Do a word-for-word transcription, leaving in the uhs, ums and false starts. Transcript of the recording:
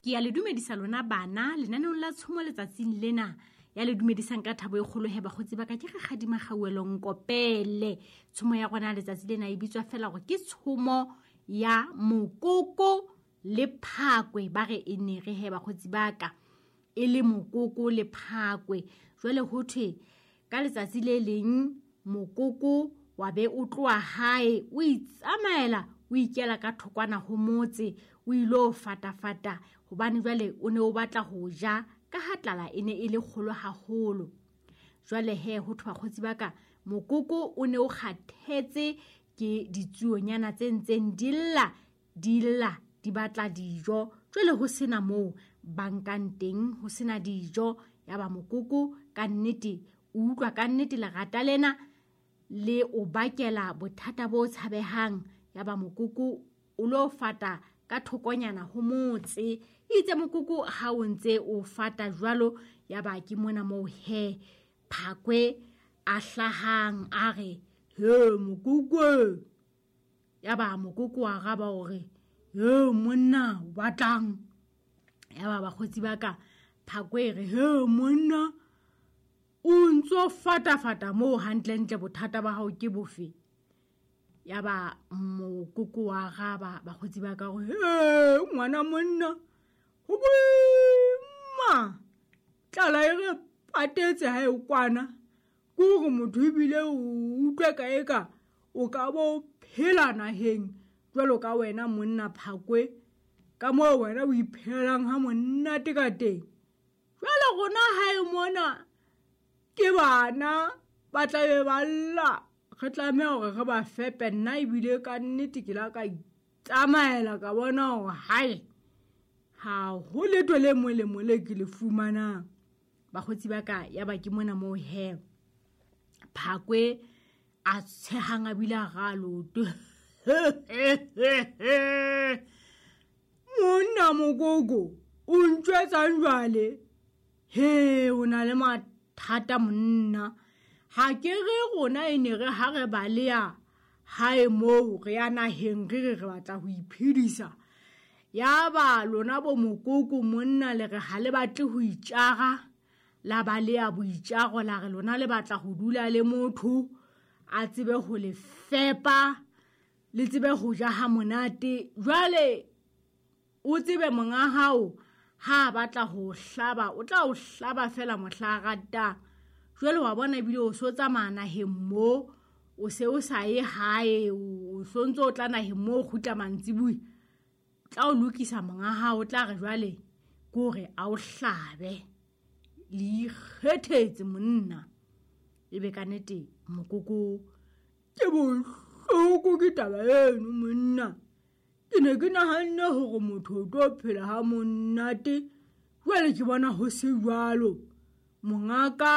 Ke ya le dumedisa lona bana lenaneong la tshomo letsatsing lena. Ya le dumedisang ka thabo e kgolo he bakgotsi ba ka ke Rakgadi Makgauwelo Nkopele. Tshomo ya rona letsatsi lena e bitswa fela hore ke tshomo ya mokoko le phakwe. Ba re e ne re he bakgotsi ba ka e le mokoko le phakwe. Jwale ho thwe ka letsatsi le leng mokoko wa be o tloha hae o itsamaela o ikela ka thokwana ho motse o ilo fatafata hobane jwale o ne o batla ho ja ka ha tlala e ne e le kgolo haholo. Jwale he ho thwe bakgotsi ba ka mokoko o ne o kgathetse ke ditsuonyana tse ntseng di lla di lla di batla dijo. Jwale ho sena moo ba nkang teng, ho sena dijo. Ya ba mokoko ka nnete o utlwa ka nnete lerata lena le o bakela bothata bo tshabehang. Ya ba mokoko o lo fata ka thokonyana ho motse. Itse mokoko ha o ntse o fata jwalo, ya ba ke mona moo he phakwe a hlahang a re he mokoko. Ya ba mokoko wa araba hore he monna o batlang. Ya ba bakgotsi ba ka phakwe re he monna o ntso fatafata moo hantlentle, bothata ba hao ke bofe? Ya ba mokoko wa araba bakgotsi ba ka hore he ngwana monna ho boima, tlala e re patetse ha e kwana. Ke hore motho ebile o utlwe ka eka o ka bo phela naheng jwalo ka wena monna phakwe, ka moo wena o iphelelang ha monate ka teng. Jwale rona hae mona ke bana ba tla be ba lla, re tlameha hore re ba fepe. Nna ebile ka nnete ke la ka itsamaela ka bona hore hae ha ho letho le molemo le ke le fumanang. Bakgotsi ba ka ya ba ke mona moo he phakwe a tshehang a bile a ra loto. Monna mokoko o ntjwetsang jwale? He o na le mathata monna. Ha ke re rona e ne re ha re baleha hae moo re ya naheng re re re batla ho iphedisa. Ya ba lona bo mokoko monna le re ha le batle ho itjara, la baleha boitjaro la re lona le batla ho dula le motho a tsebe ho le fepa, le tsebe ho ja ha monate. Jwale o tsebe monga hao ha batla ho hlaba o tla o hlaba fela mohla a ratang. Jwale wa bona ebile o so tsamaya naheng moo, o se o sa ye hae, o so ntso o tla naheng moo o kgutla mantsibuya. Tla o lokisa monga hao, o tla re jwale ke hore a o hlabe. Le ikgethetse monna. Ebe ka nnete mokoko ke bohloko ke taba eno monna. Ke ne ke nahanne hore motho o tlo phela ha monate, jwale ke bona ho se jwalo. Mongaka